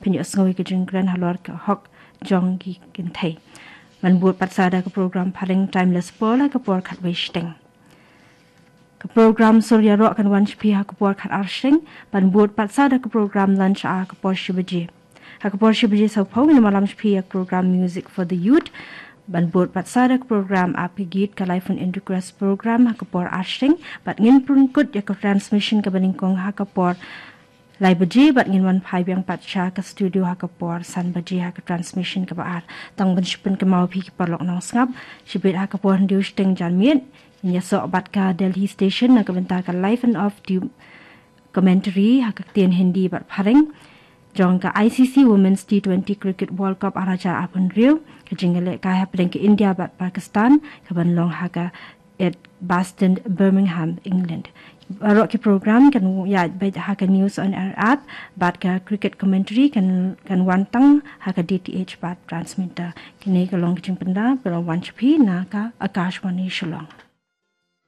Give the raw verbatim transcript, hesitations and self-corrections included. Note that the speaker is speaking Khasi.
pynïohsngew ïa ka jingkren halor ka hok jong ki kynthei. Ban bud pat sa da ka program phareng Timeless Pearl ha ka por khatwei shiteng. Ka program Sur Ïaroh kan wan sha phi ha ka por khatar shiteng, ban bud pat sa da ka program Lunch ha ka por shi baje. Ha ka por shi baje sawphew ngin ïa ïalam sha phi ïa ka program Music for the Youth, ban bud pat sa da ka program Aap Ke Geet, ka live phone-in request program ha ka por ar shiteng, bad ngin pynkut ïa ka transmission kaba nyngkong ha ka por lai baje, bad ngin wan phai biang pat sha ka studio ha ka por san baje ha ka transmission kaba ar. Tang ban shu pynkynmaw ïa phi ki paralok nongsngap, shibit ha ka por hynriew shiteng janmiet ngin ïasoh bad ka Delhi Station na ka bynta ka live and off tube commentary ha ka ktien Hindi bad phareng jong ka I C C Women's T twenty Cricket World Cup ar hajar arphew hynriew, ka jingïalehkai hapdeng ka India bad Pakistan, kaban long ha ka Edgbaston, Birmingham, England. Baroh ki program kan ïaid beit ha ka News on Air app, bad ka cricket commentary kan, kan wan tang ha ka D T H bad transmitter. Kine ki long ki jingpynda ba la wan sha phi na ka Akashvani Shillong.